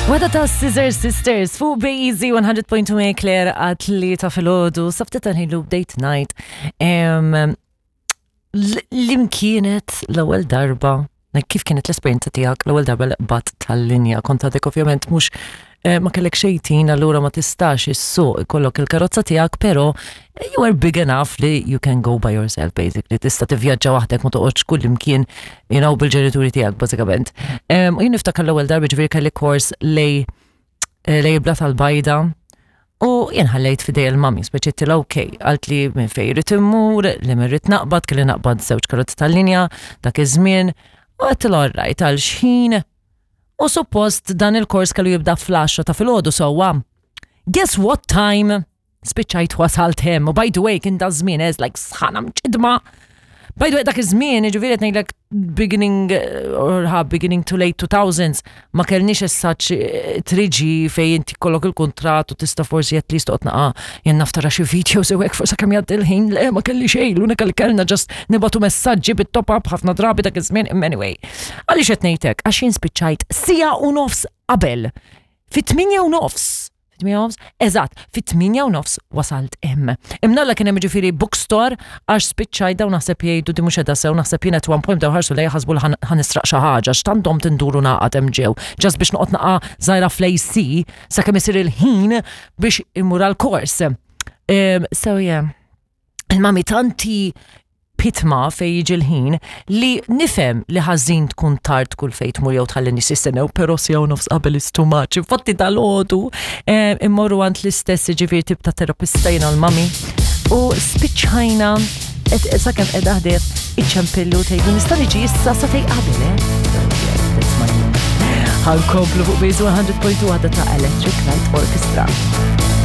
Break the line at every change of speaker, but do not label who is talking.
Wada ta' Scissor Sisters fuq Bazy 100.2 Claire għat li ta' filgħodu saftet ħilu date night. Lim kienet l-ewwel darba, kif kienet l-esperjenza tiegħek l-ewwel darba li qbadt tal-linja? Kont għadek ovvjament mhux eh, ma kellek xejtin allura ma tistax issuq ikollok il-karozza tiegħek, però you are big enough li you can go by yourself basically. Tista' tivvjaġġa waħdek ma toqgħodx kull imkien you know, bil-ġenituri tiegħek bażikament. U jien niftakar l-ewwel darba ġifieri kelli kors lej eh, lej bla tal-bajda u jien ħallejt fidej il-mami, speċi tila ok, għalt li minn fej rrit immur, li minn rrit naqbad, kelli naqbad żewġ karozzi tal-linja dak iż-żmien, u għedtilha alright għal xħin u suppost dan il-kors kellu jibda fl-10 ta' filgħodu sewwa. Guess what time? Spiċċajt wasalt hemm u by the way kien da żmien ez like sħana mċidma. By the way dak iż-żmien, jiġifieri qed ngħidlek beginning eh, or ha beginning to late 2000s ma kellniex as such 3G eh, fejn inti kollok il-kuntratt u tista' forsi at least toqgħod naqa' jien naf tara xi videos u hekk forsi kemm jgħaddi l-ħin le ma kelli xejn l-unika li kellna just nibatu messaġġi bit-top up ħafna drabi dak iż-żmien imma anyway. Għaliex qed ngħidlek għax jien spiċċajt sija u nofs qabel. Fit-8 u nofs Fit-8 nofs? Eżatt, fit-8 u nofs wasalt hemm. Imnalla kien hemm ġifieri bookstore għax spiċċajt dawn naħseb jgħidu di mhux qiegħda sew naħseb jien at one point bdew ħarsu lejja ħasbu li ħa nisraq xi ħaġa għax tant domt indur u nagħqad hemm ġew just biex noqgħod naqa' żgħira fl-AC sakemm isir il-ħin biex immur għall-kors. So yeah. Il-mami tanti pitma fej jiġi l-ħin li nifhem li ħażin tkun tard kull fejn tmur jew tħalli nies jistennew, però siegħa u nofs qabel is too much. Infatti dalgħodu eh, immorru għand l-istess jiġifieri tip ta' terapista jiena l-mami u spiċċajna sakemm qiegħda ħdejh iċċempillu tgħidu nista' niġi issa sa tej qabel, eh? Ħankomplu fuq Base 100.2 għadha ta' Electric Light Orchestra.